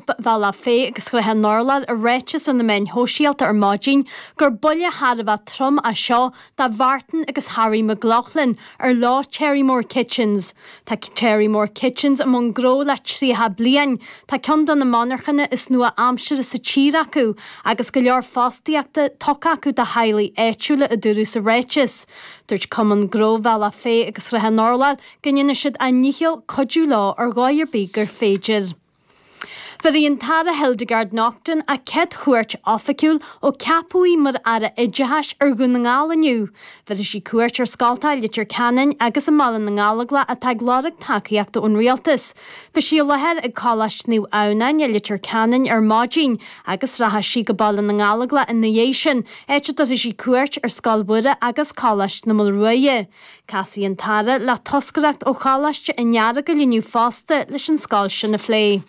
Bhealach Féich agus Shrath an Urláir i ráiteas ar na meáin shóisialta ar maidin gur buille thar a bheith trom é seo do Mhartin agus Harry McLaughlin ar leo Cherrymore Kitchens. Tá Cherrymore Kitchens i mbun gnó le 30 bliain, tá ceann de na monarchana is nua-aimseartha sa tír acu agus go leor fostaíochta tugtha acu do theaghlaigh áitiúla, a dúradh sa ráiteas. Dúirt Cumann Gnó Bhealach Féich agus Shrath an Urláir go ndéanfaidh siad a ndícheall cuidiú leo ar dhóigh ar bith gur féidir. Bhéarfaidh an tAire Hildegarde Naughton a céad chuairt oifigiúil ó ceapadh í mar Aire Oideachais ar Dhún na nGall inniu. Bhéarfaidh sí cuairt ar scoltacha i Leitir Ceanainn agus i mBaile na nGallóglach atá ag lorg tacaíochta ón Rialtas. Beidh sí i láthair ag Coláiste Naomh Adhamhnáin i Leitir Ceanainn ar maidin agus rachaidh sí go Baile na nGallóglach ina dhiaidh sin, áit a dtabharfaidh sí cuairt ar Scoil Mhuire agus Coláiste na Maolruaidhe. Casfaidh an tAire le toscaireacht ó Choláiste an Earagail inniu fosta leis an scoil sin a phlé.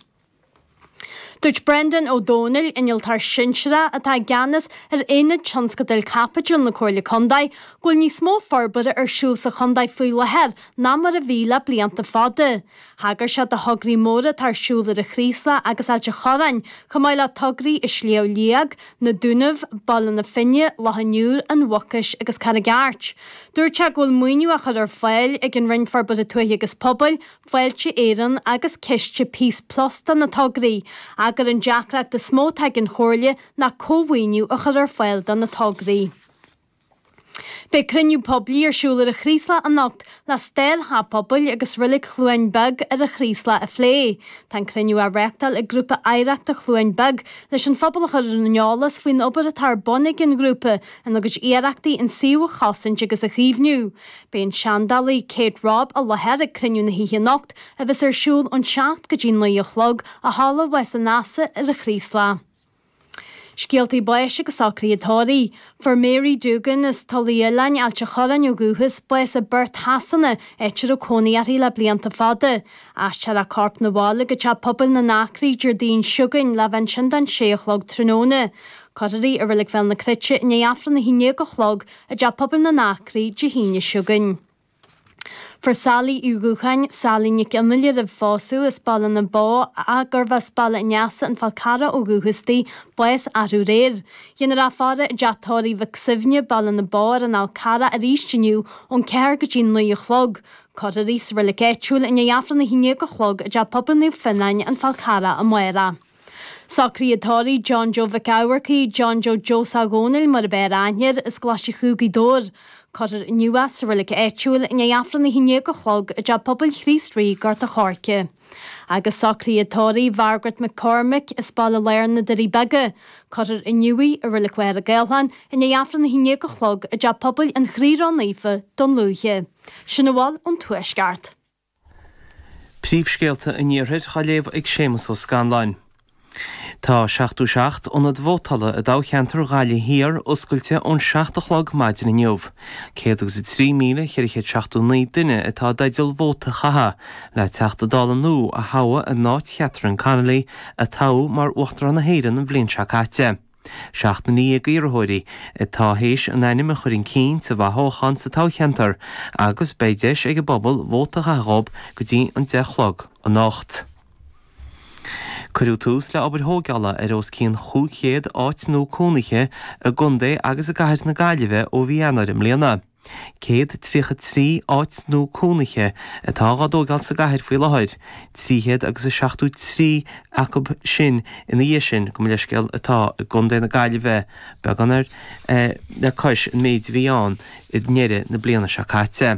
Dúirt Brendan Ó Domhnaill, Innealtóir Sinsearach atá i gceannas ar Aonad Tionscadail Caipitil na Comhairle Contae, go bhfuil níos mó forbartha ar siúl sa chontae faoi láthair ná mar a bhí le blianta fada. Thagair sé do thograí móra atá ar siúl ar an Chraoslach agus Ailt an Chorráin, chomh maith le tograí i Sliabh Liag, Na Dúnaibh, Baile na Finne, Loch an Iúir, An Mhucais agus Carraig Airt. Dúirt sé go bhfuil maoiniú á chur ar fáil ag an Roinn Forbartha Tuaithe agus Pobail, Fáilte Éireann agus Ciste Peace Plus do na tograí, ach gur an deacracht is mó atá ag an Chomhairle ná cómhaoiniú a chur ar fáil do na tograí. Beidh cruinniú poiblí ar siúl ar an Chraoslach anocht le stair Theach Pobail agus Reilig Chluain Beag ar an Chraoslach a phlé. Tá an cruinniú á reáchtáil ag Grúpa Oidhreachta Chluain Beag leis an phobal a chur ar an eolas faoin obair atá ar bun ag an ngrúpa ina gcuid iarrachtaí an suíomh a chosaint agus a chaomhnú. Beidh an seandálaí Kate Robb i láthair ag cruinniú na hoíche anocht a bheas ar siúl ón 7 go dtí 9 a chlog i Halla Mhaigh an Easa ar an Chraoslach. Scéaltaí báis agus socruithe tórraimh. Fuair Mary Doogan as Tulaigh Oileáin, Ailt an Chorráin ó dhúchas, bás i bPerth Shasana, áit a raibh cónaí uirthi le blianta fada. Aistreofar a corp 'na bhaile go Teach Pobail na nAcraí Déardaoin seo chugainn le bheith ansin don sé a chlog tráthnóna. Cuirfear í i Reilig Bhéal na Cruite i ndiaidh Aifreann 11 a chlog i dTeach Pobail na nAcraí Dé hAoine seo chugainn. Fuair Sally Uí Dhúcháin, Sally Nic Fhionnaile roimh phósadh, as Baile na Bó ach gurbh as Baile an Easa, An Fál Carrach ó dhúchas di, bás arú aréir. Dhéanfar í a faire i dTeach Tórraimh Mhic Suibhne, Baile na Bó ar an Fhál Carrach arís inniu ón 4 go dtí 9 a chlog. Cuirfear í sa reilig áitiúil i ndiaidh Aifreann 11 a chlog i dTeach Pobail Naomh Fionnáin, An Fál Carrach amárach. Socruithe tórraimh John Joe Mhic Eamharcaigh, John Joe Joe Dhónaill mar ab fhearr aithne air, as Coláiste Chú Gaoth Dobhair. Cuirfear inniu é sa reilig áitiúil i ndiaidh Aifreann 11 a chlog i dTeach Pobail Chríost Rí, Gort a' Choirce. Agus socruithe tórraimh Mhargaret McCormick as Baile Láir na Doirí Beaga. Cuirfear inniu í i Reilig Mhachaire Gathlán i ndiaidh Aifreann 11 a chlog i dTeach Pobail an Chroí Ró-Naofa, Dún Lúiche. Sin a bhfuil ón Tuaisceart. Príomhscéalta an Iarthair á léamh ag Séamus Ó Scanláin. Tá 77 ionad vótála i dtoghcheantar Ghaillimh Thiar oscailte ón 7 a chlog maidin inniu. 103,479 duine atá i dteideal vóta a chaitheamh le Teachta Dála nua a thoghadh in áit Chatherine Connolly a toghadh mar Uachtarán na hÉireann an bhliain seo caite. 17 iarrthóirí atá théis a n-ainm a chur chun cinn sa bhfothoghchán sa toghcheantar agus beidh deis ag an bpobal vóta a chaitheamh dhób go dtí an 10 a chlog anocht. Cuireadh tús le obair thóigeála ar os cionn 500 áit nua cónaithe i gcontae agus i gcathair na Gaillimhe ó mhí Eanáir i mbliana. 133 áit nua cónaithe atá á dtóigeáil sa gcathair faoi láthair, 300 agus 73 acu sin ina dhiaidh sin, gabh mo leithscéal, atá i gContae na Gaillimhe, beagán ar le cois an méid a bhí ann i ndeireadh na bliana seo caite.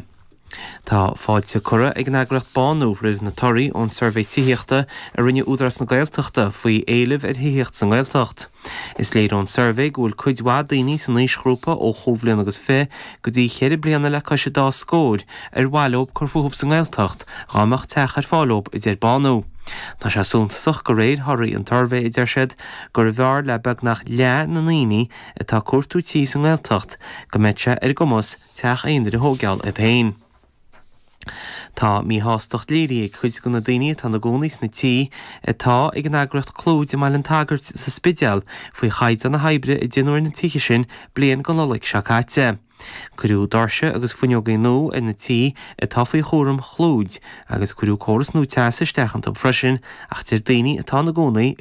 Tá fáilte curtha ag an eagraíocht Bánú roimh na torthaí ón suirbhé tithíochta a rinne Údarás na Gaeltachta faoi éileamh ar thithíocht sa nGaeltacht. Is léir ón suirbhé go bhfuil cuid mhaith daoine san aoisghrúpa ó chúig bhliana agus fiche go dtí cheithre bliana le cois an dá scór ar mhaith leob cur fúthub sa nGaeltacht dhá mbeadh teach ar fáil dhób, a deir Bánú. Tá sé suntasach de réir thorthaí an tsuirbhé, a deir siad, gurbh fhearr le beagnach leath na ndaoine atá ag cuartú tí sa nGaeltacht go mbeadh sé ar a gcumas teach aonair a thóigeáil iad féin. Tá míshástacht léirithe ag cuid de na daoine atá ina gcónaí sna tithe atá ag an eagraíocht Clúid i mBaile an tSagairt sa Spidéal faoi chaighdeán na hoibre a déanadh ar na tithe sin bliain go Nollaig seo caite. Cuireadh doirse agus fuinneogaí nua ar na tithe atá faoi chúram Chlúid agus cuireadh córas nua teasa isteach iontu freisin ach deir daoine atá ina gcónaí i.